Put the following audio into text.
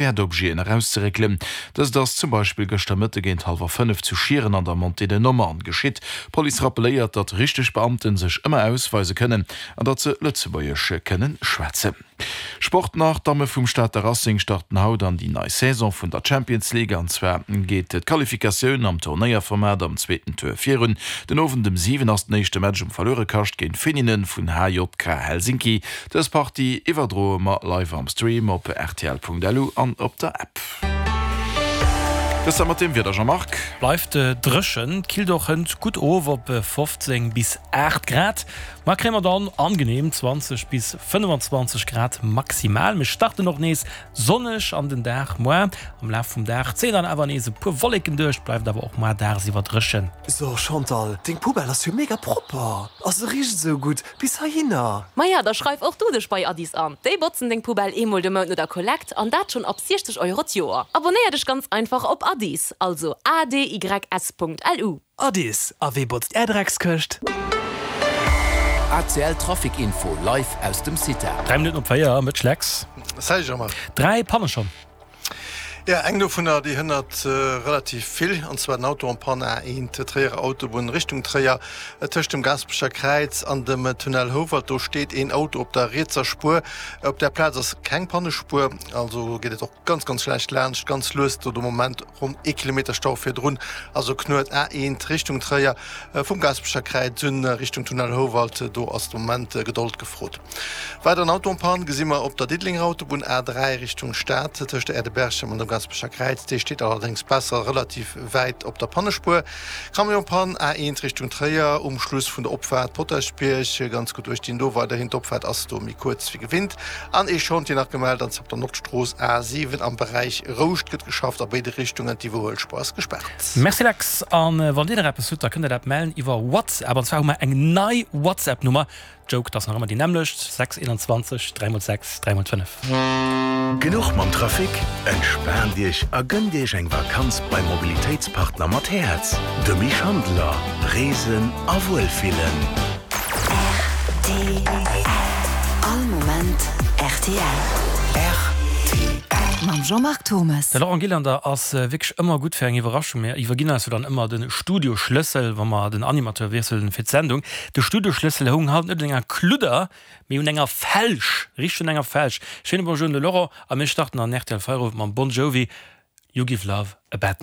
Wäertobjeten erauszeréckelen. Dëst ass zum Beispill gëschter Mëtte géint hallwer 5 zu Schieren an der Montée de Nommern geschitt. D'Police rappelléiert, datt richteg Beamte sech ëmmer ausweise kënnen an datt se Lëtzebuergesch kënne schwätzen. Sport nach, D'Damme vum Stater Racing starten haut an déi nei Saison vun der Champions League. An zwar geet d'Qualifikatioun am Turnéierformat am zweeten Tour virun. Den Owend um 7 ass den éischte Match um Verluerekascht géint Finninen vun HJK Helsinki. Dës Partie iwwerdroe mer live am Stream op rtl.lu an op der App. Dëst da mat dem Wieder, Jean-Marc. Bleift dréchen, killt och hënt gutt of op 15 bis 8 Grad. Mar kréie mer dann angenehm 20 bis 25 Grad maximal. Mir starten och nees sonneg an den Dag moar. Am Laf vum Dag zéien dann awer nees e puer Wolleken duerch, bleift awer och moar dagsiwwer dréchen. So Chantal, deng Poubelle ass jo mega propper a se richt esou gutt. Bis heihinner! Maja, da schreif och du dech bei Addis an. Déi botzen deng Poubelle eemol de Mount no der Kollekt, an dat schonn ab 60 Euro d'Joer. Abonnéier dech ganz einfach op Addis, also adys.lu. Addis, a wee botzt är Dreckskëscht? ACL Trafic Info live aus dem CITA. 3 Minutten op 4, Mëtsch Lex. Salut Jean-Marc. 3 Panne schonn. Jo, eng dovunner, déi hënnert relativ vill, an zwar den Auto en panne A1 Tréierer Autobunn Richtung Tréier, tëscht dem Gaasperecher Kräiz an dem Tunnel Houwald. Do steet een Auto op der rietser Spuer. Op där Plaz ass keng Pannespuer, also geet et och ganz, ganz schlecht laanscht, ganz lues do de Moment, ronn ee Kilometer Stau virdrun. Also Knuet A1 Richtung Tréier vum Gaasperecher Kräiz un Richtung Tunnel Houwald, do ass de Moment Gedold gefrot. Weideren Auto en panne gesi mer op der Diddelenger Autobunn A3 Richtung Stad tëscht der Aire de Berchem an dem Gaasperecher Kräiz. Dee steet allerdéngs besser relativ wäit op der Pannespuer. Camion en panne A1 Richtung Tréier um Schluss vun der Opfaart Potaschbierg. Ganz gutt uecht dinn do weiderhin, d'Opfaart ass do méi kuerz wéi gewinnt. An ee Chantier nach gemellt, an zwar op der Nordstrooss A7 am Beräich Rouscht gëtt geschafft a béide Richtungen. D'Iwwerhuelspuer ass gespaart. Merci Lex, an wann dir nach eppes hutt, da kënnt der dat mellen iwwer WhatsApp. An zwar hu mer eng nei WhatsApp-Nummer. Joke, 't ass nach ëmmer déi nämmlecht, 6 21 3 mol 6 3 mol 5. Genuch mam Trafic? Entspaant Iech a gënnt Iech eng Vakanz beim Mobilitéitspartner mat Häerz, dem Schandeler. Reesen a Wuelfillen. Rtl. All Moment rtl. Rtl. Mam Jean-Marc Turmes. De Laurent Gillander ass wierklech ëmmer gutt fir eng Iwwerraschung. Mir iwwerginn eis jo dann ëmmer de Studioschlëssel, wa mer den Animateur wiesselen fir d'Sendung. De Studioschlëssel houng haut net un enger Kludder, mee un enger Felsch, richteg un enger Felsch. Schéine Bonjour un de Laurent a mir starten an rtl Feierowend mam Bon Jovi, You Give Love a Bad Name.